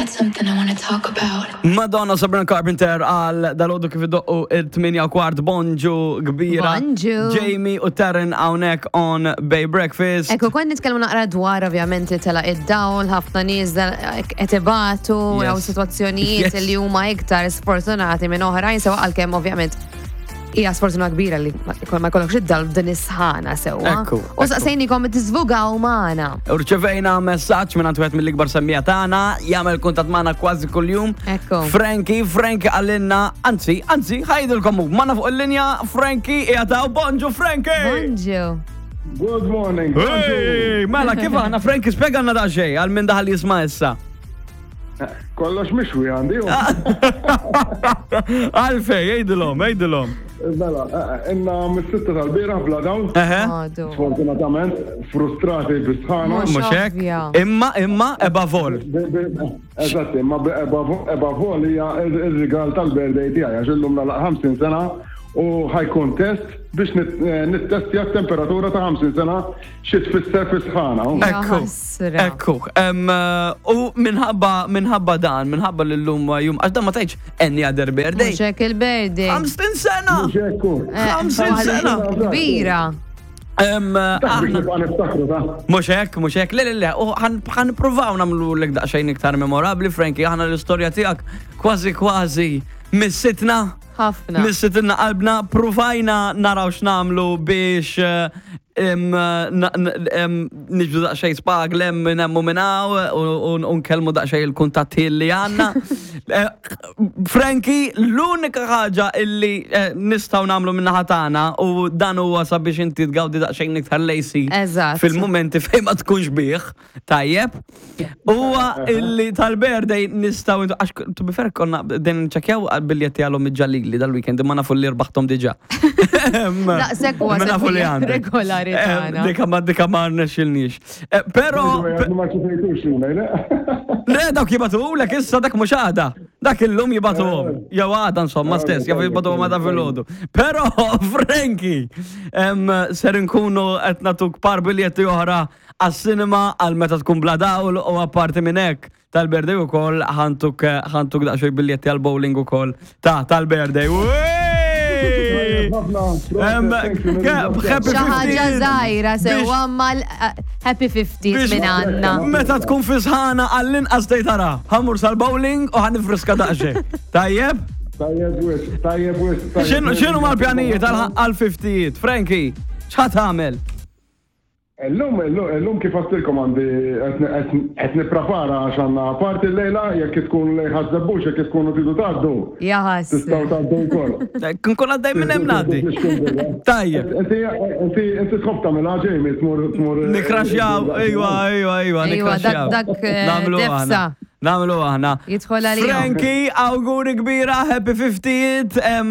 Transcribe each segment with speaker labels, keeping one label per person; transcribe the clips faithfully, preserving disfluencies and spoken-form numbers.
Speaker 1: Got something I want to talk about.
Speaker 2: Madonna, Sabrina Carpenter għal dalgħodu kif iddoqqu it-tmienja u kwart. Bonġu kbira.
Speaker 3: Bonġu.
Speaker 2: Jamie u Taryn hawnhekk on Bay Breakfast.
Speaker 3: Ekku, kont nitkellmu naqra dwar ovvjament li tela id-dawl, ħafna nies qed ibatu,
Speaker 2: Yes.
Speaker 3: jew sitwazzjonijiet
Speaker 2: Yes.
Speaker 3: li huma iktar sfortunati minn oħrajn, sewa għalkemm ovvjament hija sfortuna kbira li ma ma jkollokx id-dawl b'din is-sħana sewwa.
Speaker 2: Ekku,
Speaker 3: U
Speaker 2: ekku.
Speaker 3: saqsejnikom tiżvugaw magħna.
Speaker 2: U rċevejna messaġġ minn wieħed mill-ikbar semmiegħa tagħna, jagħmel kuntatt magħna kważi kuljum.
Speaker 3: Ekku.
Speaker 2: Frankie, Frankie qalilna, anzi, anzi, ħa jgħidilkom hu, magħna fuq il-linja Frankie qiegħed. Bonġu, Frankie!
Speaker 3: Bonġu.
Speaker 4: Good morning.
Speaker 2: Hey, mela kif aħna, Frankie, spjegalna daqsxejn għal min daħal jisma' issa.
Speaker 4: Kollox mixwi għandi.
Speaker 2: Għalfej, għidilhom, għidilhom.
Speaker 4: Mela, ilna mis-sitta tal-bieraħ bla dawl.
Speaker 2: Eħe.
Speaker 3: Għadu.
Speaker 4: Sfortunatament, frustrati bis-sħana.
Speaker 3: Mhux
Speaker 2: Mhux hekk?
Speaker 3: ovvja.
Speaker 2: Imma, imma, above all.
Speaker 4: Eżatt, imma above all hija il-rigal tal-birthday tiegħi, għax illum nagħlaq ħamsin sena u ħa jkun test biex nittestja t-temperatura ta' ħamsin sena xi tfisser fi sħana.
Speaker 2: Ekku,
Speaker 3: ħasra.
Speaker 2: ekku. Em, U minħabba minħabba dan, minħabba l-lum jum, għax dan ma tgħidx any other birthday.
Speaker 3: Mhux hekk il-birthday.
Speaker 2: ħamsin sena!
Speaker 4: Mhux hekk.
Speaker 3: Eh,
Speaker 2: ħamsin
Speaker 3: waħda
Speaker 2: sena!
Speaker 3: Kbira.
Speaker 2: Em,
Speaker 4: Biex
Speaker 2: aħna-
Speaker 4: nibqa' niftakru ta'
Speaker 2: Mhux hekk, mhux hekk, le, le, le, u ħa nippruvaw nagħmlu l daqsxejn iktar memorabli, Frankie, aħna l-istorja tiegħek kważi kważi missitna.
Speaker 3: Ħafna.
Speaker 2: Missitilna qalbna, provajna naraw x'nagħmlu biex eh, em, na- n- em, niġbdu daqsxejn spag lem minn hemm u minn hawn u u nkellmu daqsxejn il-kuntatti li għandna. Eh, Frankie, l-unika ħaġa illi eh, nistgħu nagħmlu min-naħa tagħna u dan huwa sabiex inti tgawdi daqsxejn iktar l-A C
Speaker 3: Eżatt.
Speaker 2: fil-momenti fejn ma tkunx bih, tajjeb, huwa illi tal-birthday nistgħu, għax to be fair konna din ċekjaw biljetti għalhom iġġalili dal-weekend, imma nafu li rbaħtom diġà.
Speaker 3: Daqshekk huwa
Speaker 2: Imma nafu li
Speaker 3: semmiegħa
Speaker 2: għandek.
Speaker 3: regolari
Speaker 2: Eh,
Speaker 3: tagħna.
Speaker 2: Dika ma dika ma rnexxilniex. Eh, Però
Speaker 4: Ma ċifejtux l-email,
Speaker 2: le, dawk jibagħtu lek issa, dak mhux għada. Dak illum jibagħtuhom. Jew għada insomma stess, jew jibagħtuhom għada filgħodu. Però Frankie, em, ser nkunu qed nagħtuk par biljetti oħra għas-cinema għal meta tkun bla dawl u apparti minn hekk tal-birthday ukoll ħa ntuk ħa ntuk daqsxejn biljetti għal bowling ukoll ta' tal-birthday. Wey! Em, happy
Speaker 3: Xi ħaġa
Speaker 2: fiftieth.
Speaker 3: żgħira sewwa
Speaker 2: Biex-
Speaker 3: mal eh, happy fiftieth
Speaker 2: biex
Speaker 3: minn għandna.
Speaker 2: Meta tkun fi sħana għall-inqas tgħid tara, ħa mmur sal-bowling u ħa nifriska daqsxejn. Tajjeb?
Speaker 4: Tajjeb wisq, tajjeb wisq.
Speaker 2: X'inhu x'inhu mal-pjanijiet għal-fiftijiet? Frankie, x'ħa tagħmel?
Speaker 4: Illum, illum, illum kif għedtilkom għandi qed nipprepara għax għandna party llejla, jekk tkun lejn Ħaż-Żebbuġ, jekk tkunu tridu tgħaddu.
Speaker 3: Jaħas.
Speaker 4: Tistgħu tgħaddu wkoll.
Speaker 2: Nkun għaddej minn hemm ngħaddi. Tajjeb.
Speaker 4: Inti inti inti tħobb tagħmilha, Jamie, tmur tmur.
Speaker 2: Nikraxjaw, ejwa, ejwa, ejwa,
Speaker 3: Ejwa,
Speaker 2: nikraxjaw.
Speaker 3: dak- dak, eh,
Speaker 2: Nagħmlu
Speaker 3: defsa.
Speaker 2: aħna. Nagħmlu aħna.
Speaker 3: Jidħol għalihom.
Speaker 2: Frankie, awguri kbira, happy fiftieth, em,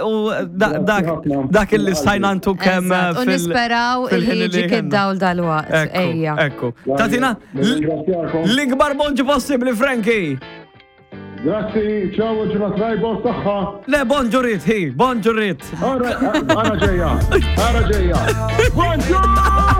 Speaker 2: u da- dak
Speaker 4: ħafna.
Speaker 2: dak illi stajna ntuk hemm
Speaker 3: Eżatt, U
Speaker 2: fil-
Speaker 3: nisperaw
Speaker 2: fil-ħin
Speaker 3: illi
Speaker 2: li
Speaker 3: jiġik
Speaker 2: kellna.
Speaker 3: id-dawl dal-waqt.
Speaker 2: Ekku,
Speaker 3: Ejja.
Speaker 2: ekku. Tatina,
Speaker 4: Nirringrazzjakom.
Speaker 2: l-ikbar bonġu possibli, Frankie.
Speaker 4: Grazzi, ciao, ġurnata tajba u saħħa.
Speaker 2: Le, bonġu rrit, hi, bonġu rrit.
Speaker 4: Ara, ara ġejja, ara ġejja. Bonġur!